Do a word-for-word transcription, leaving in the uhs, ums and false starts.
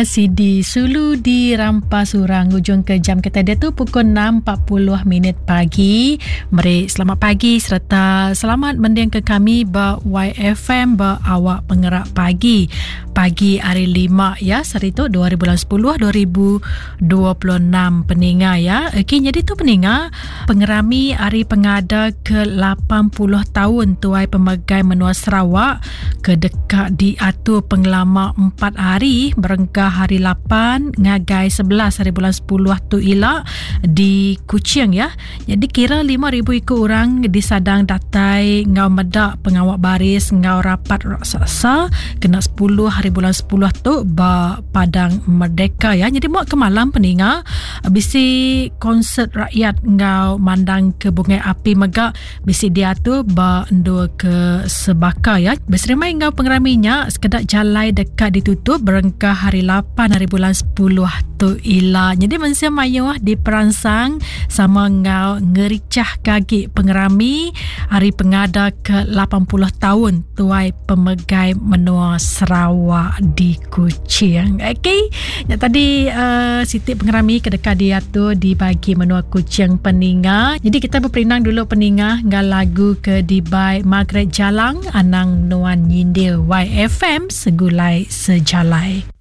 Sidi Sulu di Rampas Urang ujung ke jam kita dia tu pukul enam empat puluh minit pagi. Meri selamat pagi serta selamat mending ke kami ba Y F M ba awak pengerak pagi. Pagi hari lima ya, sehari tu dua ribu sepuluh dua ribu dua puluh enam peninga ya. Okey, jadi tu peninga pengerami hari pengada ke lapan puluh tahun Tuai Pemegai Menua Sarawak ke dekat diatur pengelama empat hari berengkah hari lapan ngagai sebelas hari bulan sepuluh tu ila di Kuching ya. Jadi kira lima ribu ikut orang disadang datai ngau medak pengawak baris ngau rapat raksasa kena sepuluh hari bulan sepuluh tu ba Padang Merdeka ya. Jadi muak ke malam peninga bisi konsert rakyat ngau mandang ke bungai api megak bisi diatur ba endua ke sebaka ya. Berserimai ngau pengeraminya sekedak jalai dekat ditutup berengkah hari lapan hari bulan sepuluh tu ila. Jadi mensia mayuh diperansang sama ngau ngericah kagi pengerami hari pengada ke lapan puluh tahun Tuai Pemegai Menua Sarawak di Kuching. Okey, yang tadi uh, siti pengerami kedekat diatur di bagi menua Kuching peninga. Jadi kita berperindang dulu peninga ngau lagu ke dibai Margaret Jalang Anang Nuan Nyindir Y F M Segulai Sejalai.